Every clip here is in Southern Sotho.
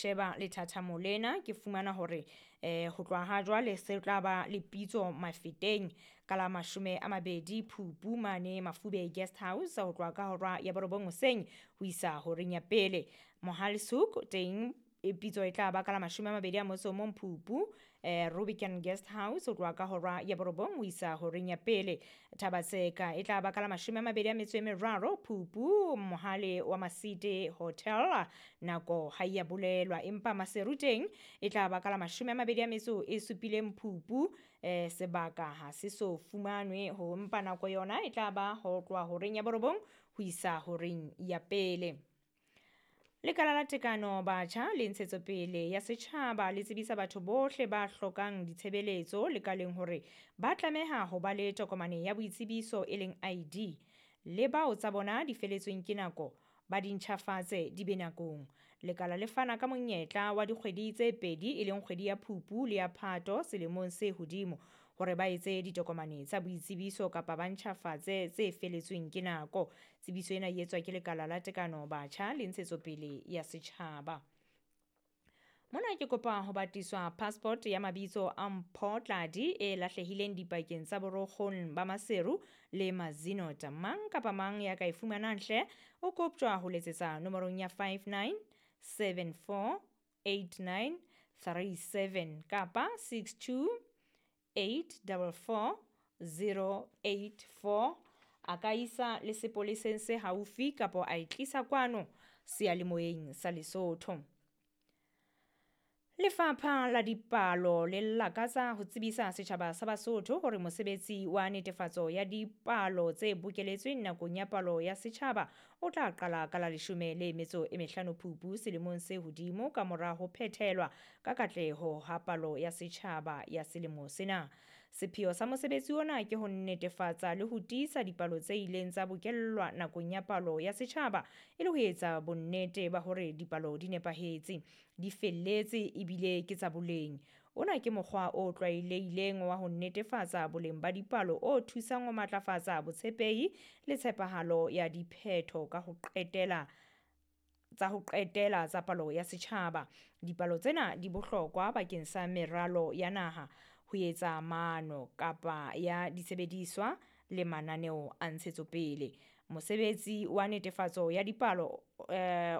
sheba lethathamo lena ke fumana hore ho tloha ha jwale se tla ba le pitso Mafeteng ka la 20 Phupu mane Mafube Guest House ho tloha ka hora ya 9 hoseng ho isa horeng ya pele. Mohale's Hoek teng pitso e tla ba ka la 21 Phupu Rubicon Guest House ho tloha ka hora ya 9 ho isa horeng ya pele. Thabatseka e tla ba ka la 23 Phupu Mohale wa Masite Hotel, nako ha ya bolelwa, empa Maseru teng e tla ba ka la 27 Phupu, sebaka ha se so fumanwe ho, empa nako yona e tla ba ho tloha horeng ya 9 ho isa horeng ya pele. Lekala la Tekano Batjha le Ntshetsopele ya Setjhaba le tsebisa batho bohle ba hlokang ditshebeletso lekaleng hore ba tlameha ho ba le tokomane ya boitsebiso e leng ID, le bao tsa bona di feletsweng ke nako ba di ntjhafatse di be nakong. Lekala le fana ka monyetla wa dikgwedi tse pedi e leng kgwedi ya Phupu le ya Phato selemong se hodimo hore ba etse ditokomane tsa boitsebiso kapa ba ntjhafatse tse feletsweng ke nako. Tsebiso ena e etswa ke Lekala la Tekano Batjha le Ntshetsopele ya Setjhaba. Mona ke kopa ho batiswa passport ya mabitso a Mpho Tladi e lahlehileng dipakeng tsa Borokgong ba Maseru le Mazinot. Mang kapa mang ya ka e fumanang hle o koptjwa ho letsetsa nomorong ya 59748937 kapa 62844084. A ka isa le sepoleseng se haufi kapa a e tlisa kwano seyalemoyeng sa Lesotho. Lefapha la Dipalo le lakatsa ho tsebisa setjhaba sa Basotho hore mosebetsi wa netefatso ya dipalo tse bokeletsweng nakong ya palo ya setjhaba o tla qala ka la 15 Phupu selemong se hodimo ka mora ho phethelwa ka katleho ha palo ya setjhaba ya selemo sena. Sepheo sa mosebetsi ona ke ho netefatsa le ho tiisa dipalo tse ileng tsa bokellwa nakong ya palo ya setjhaba e le ho etsa bonnete ba hore dipalo di nepahetse, di felletse ebile ke tsa boleng. Ona ke mokgwa o tlwaelehileng wa ho netefatsa boleng ba dipalo o thusang ho matlafatsa botshepehi le tshepahalo ya diphetho ka ho qetela tsa ho qetela tsa palo ya setjhaba. Dipalo tsena di bohlokwa bakeng sa meralo ya naha, ho etsa maano kapa ya disebediswa le mananeo a ntshetsopele. Mosebetsi wa netefatso ya dipalo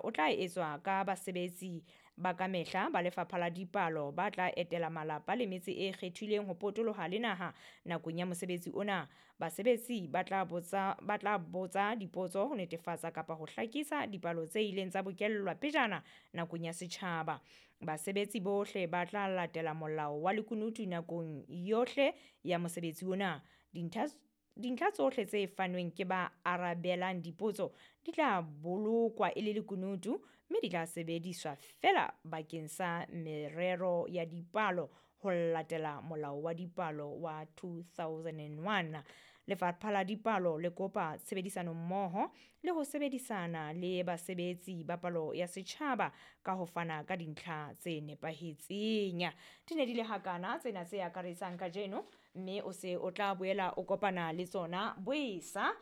o tla etswa ka basebetsi ba kamehla ba Lefapha la Dipalo ba tla etela malapa le metse e kgethilweng ho potoloha le naha nakong ya mosebetsi ona. Basebetsi ba tla botsa dipotso ho netefatsa kapa ho hlakisa dipalo tse ileng tsa bokellwa pejana nakong ya setjhaba. Basebetsi bohle ba tla latela molao wa lekunutu nakong yohle ya mosebetsi ona. Dintlha tsohle tse fanweng ke ba arabelang dipotso di tla bolokwa e le lekunutu mme di tla sebediswa feela bakeng sa merero ya dipalo ho latela molao wa dipalo wa 2001. Lefapha la Dipalo le kopa tshebedisano mmoho le ho sebedisana le basebetsi ba palo ya setjhaba ka ho fana ka dintlha tse nepahetseng. Di ne di le hakana tsena tse akaretsang kajeno, mme o se o tla boela o kopana le tsona boesa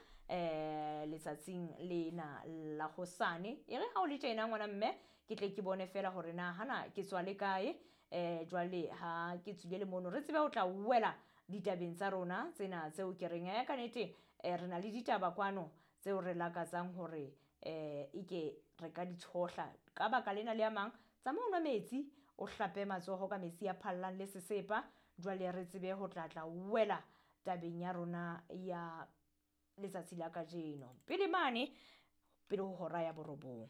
letsatsing lena la hosane. E re ha o le tjena ngwana mme, ke tle ke bone fela hore na hana ke tswa le kae, jwale ha ke tswile le mono re tsebe ho tla wela ditabeng tsa rona tsena tseo ke reng ka nete re na le ditaba kwano tseo re lakatsang hore eke re ka di tshohla. Ka baka lena le a mang, tsamaya o nwa metsi, o hlape matsoho ka metsi a phallang le sesepa, jwale re tsebe ho tla tla wela tabeng ya rona ya letsatsi la kajeno. Pele mane, pele ho hora ya 9.